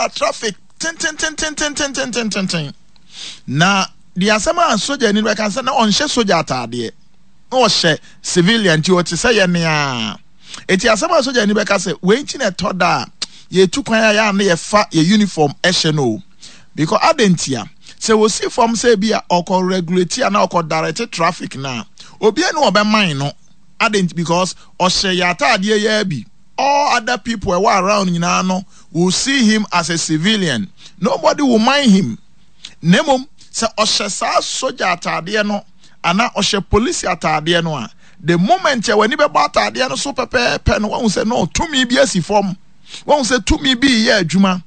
Ɔgyaa traffic tentententententententen. Na deɛ asɛm a sogyani no bɛka sɛ na ɔnhyɛ sogya ataadeɛ, na ɔhyɛ civilian, nti ɔte sɛ yɛn a. Eti asɛm a sogyani bɛka sɛ, wei nti na ɛtɔ da a yɛtu kwan a yɛa na yɛfa yɛ uniform ɛhyɛ no o. Because adɛn ntia? Sɛ wɔsi fam sɛ bi a ɔkɔ regulate a na ɔkɔ direct traffic na obiara ne ɔbɛman no. Adɛn nti? Because ɔhyɛ yɛ ataadeɛ yɛ bi. All other people ɛwɔ around nyinaa no will see him as a civilian. Nobody will mind him. Na mmom sɛ ɔhyɛ saa sogya ataadeɛ no anaa ɔhyɛ polisi ataadeɛ no a, the moment a w'ani bɛbɔ ataadeɛ no so pɛpɛɛpɛ no, wahu sɛ no, tumi bi asi fam, wahu sɛ tumi bi yɛ adwuma,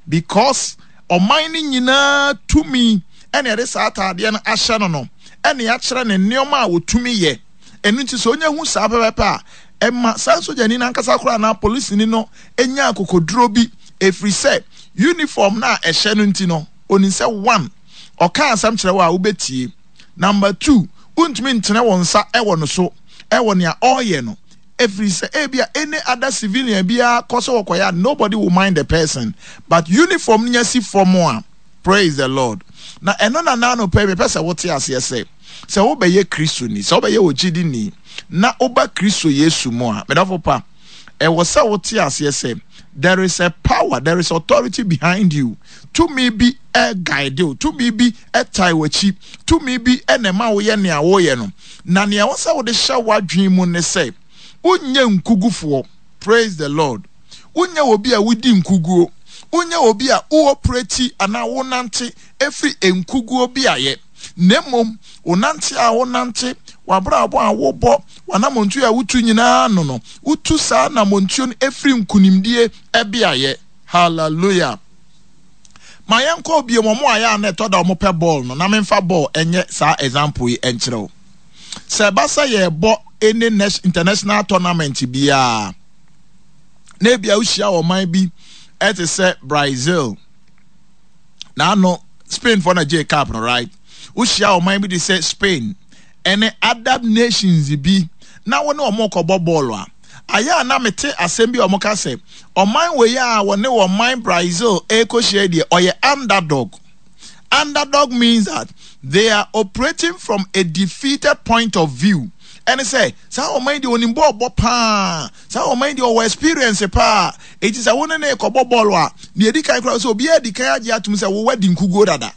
because ɔman no nyinaa tumi ɛna ɛde saa ataadeɛ no ahyɛ no, ɛna yɛakyerɛ ne nneɛma a wɔtumi yɛ. Ɛno nti sɛ onya hu saa pɛpɛɛpɛ a, ɛma saa sogyani no ankasa koraa anaa polisini no nya akokoduro bi, ɛfiri sɛ uniform no a ɛhyɛ no nti no, onim sɛ one, ɔka asɛm kyerɛ wo a, wobɛtie. Number two, wontumi ntene wo nsa ɛwɔ no so ɛwɔ nea ɔreyɛ no, ɛfiri sɛ ebia any other civilian biara kɔ sɛ wɔkɔyɛ a, nobody will mind the person, but uniform no nya si fam a. Praise the Lord. Na ɛno na naano pɛ mepɛ sɛ wote aseɛ sɛ wobɛyɛ Kristoni, sɛ wobɛyɛ ogyidini na woba Kristo Yesu mu a, medɔfo pa, ɛwɔ sɛ wote aseɛ sɛ there is a power, there is authority behind you. Tumi bi guide wo, tumi bi tae w'akyi, tumi bi na ɛma woyɛ nea woyɛ no. Na nea ɛwɔ sɛ wode hyɛ w'adwene mu ne sɛ wonyɛ nkugufoɔ. Praise the Lord. Wonyɛ obi a wodi nkuguo, wonyɛ obi a wo operate anaa wonante efiri nkuguo beaeɛ, na mmom wonante a wonante, w'abrabɔ a wobɔ, w'anamontuo a wotu nyinaa no, wotu saa anamontuo no efiri nkunimdie beaeɛ. Hallelujah. Ma yɛnkɔ bio. Wɔn a yɛ a na ɛtɔ da wɔn pɛ bɔɔl no, na memfa bɔɔl ɛnyɛ saa example yi ɛnkyerɛ wo. Sɛ ɛba sɛ yɛrebɔ any international tournament biara na ebia wohyia ɔman bi ɛte sɛ Brazil na ano Spain fo na gye cup no, right? Wohyia ɔman bi te sɛ Spain ɛne other nations bi na wɔne wɔn kɔbɔ bɔɔl a, ayɛ a na mete asɛm bi a wɔn ka sɛ ɔman wei a wɔne ɔman Brazil ɛrekɔhyia deɛ, ɔyɛ underdog. Underdog means that they are operating from a defeated point of view. Ɛne sɛ saa ɔman deɛ, onim bɔɔl bɔ paa, saa ɔman deɛ, ɔwɔ experience paa, eti sɛ wɔne ne kɔbɔ bɔɔl a, nea edi kan koraa sɛ obiara di kan agye atum sɛ wɔwɔ adi nkuguo dada.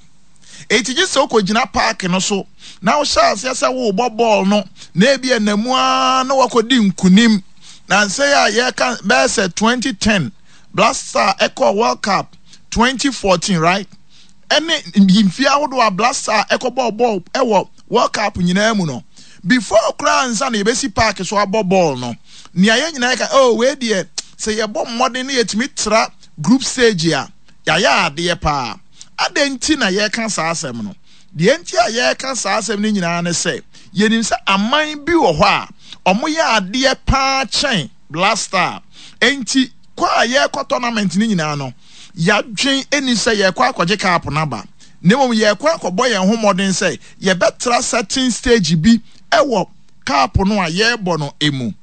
Eti gye sɛ okɔgyina park no so na wohyɛ aseɛ sɛ wɔrebɔ bɔɔl no na ebi ɛnamu ara na wakɔdi nkunim. Na nsɛ a yɛka bɛyɛ sɛ 2010 Black Star ɛkɔ World Cup, 2014, right, ɛne mfie ahodoɔ a Black Star ɛkɔbɔɔ bɔɔl ɛwɔ World Cup nyinaa mu no, before koraa nsa na yɛbɛsi park so abɔ bɔɔl no, nea yɛn nyinaa yɛka, oh, wei deɛ, sɛ yɛbɔ mmɔden na yɛtumi tra group stage a, yɛayɛ adeɛ paa. Adɛn nti na yɛreka saa asɛm no? Deɛ nti a yɛreka saa asɛm no nyinaa ne sɛ yɛnim sɛ aman bi wɔ hɔ a ɔmoyɛ adeɛ paa kyɛn Black Star. Enti kɔ a yɛrekɔ tournament no nyinaa no, yɛadwen ɛni sɛ yɛrekɔ akɔgye cup no aba, na mmom yɛrekɔ akɔbɔ yɛn ho mmɔden sɛ yɛbɛtra certain stage bi ɛwɔ cup no a yɛrebɔ no emu.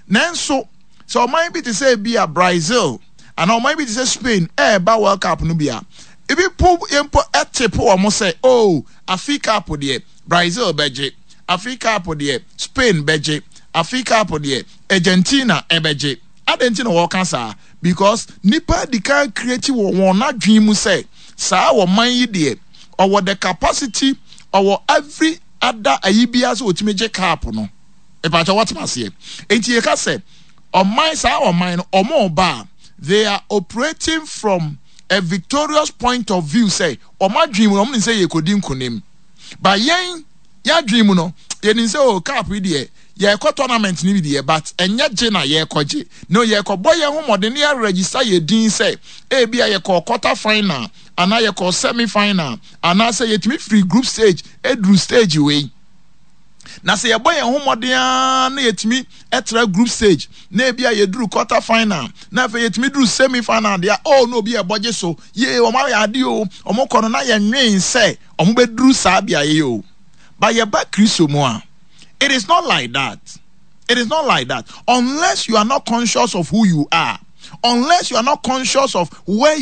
Nanso sɛ ɔman bi te sɛ bi a Brazil anaa ɔman bi te sɛ Spain ɛreba World Cup no bi a, ebi po mpo ɛte po wɔn sɛ, oh, afi cup deɛ, Brazil bɛgye, afi cup deɛ, Spain bɛgye, afi cup deɛ, Argentina ɛbɛgye. Adɛn nti na wɔka saa? Because nipa di kan create wɔ wɔn adwene mu sɛ saa ɔman yi deɛ, ɔwɔ the capacity, ɔwɔ every other ayi biara sɛ otumi gye cup no. Ìpàtɛ wɔtena aseɛ? Nti yɛka sɛ ɔman saa ɔman no, ɔmo ba a, they are operating from a victorious point of view, sɛ ɔmo adwene mu no, ɔmo nim sɛ yɛkɔdi nkonim. But yɛn yɛadwene mu no, yɛnim sɛ o, cup yi deɛ, yɛkɔ tournament no bi deɛ, but ɛnyɛ gye na yɛkɔgye no. Yɛkɔbɔ yɛn ho mmɔden ne yɛaregister yɛ din sɛ ebi a yɛkɔ quarter final anaa yɛkɔ semi final anaasɛ yɛtumi firi group stage eduru stage wei. Na sɛ yɛbɔ yɛn ho mmɔden ara na yɛtumi ɛtra group stage na ebi a yɛduru quarter final na afei yɛtumi duru semi final deɛ, oh, na obi a ɛbɔ gye so yee, wɔn ayɛ ade o. Wɔn kɔ no na yɛnwen sɛ wɔn bɛduru saa beaeɛ yi o. But yɛba Kristo mu a, it is not like that. It is not like that unless you are not conscious of who you are, unless you are not conscious of where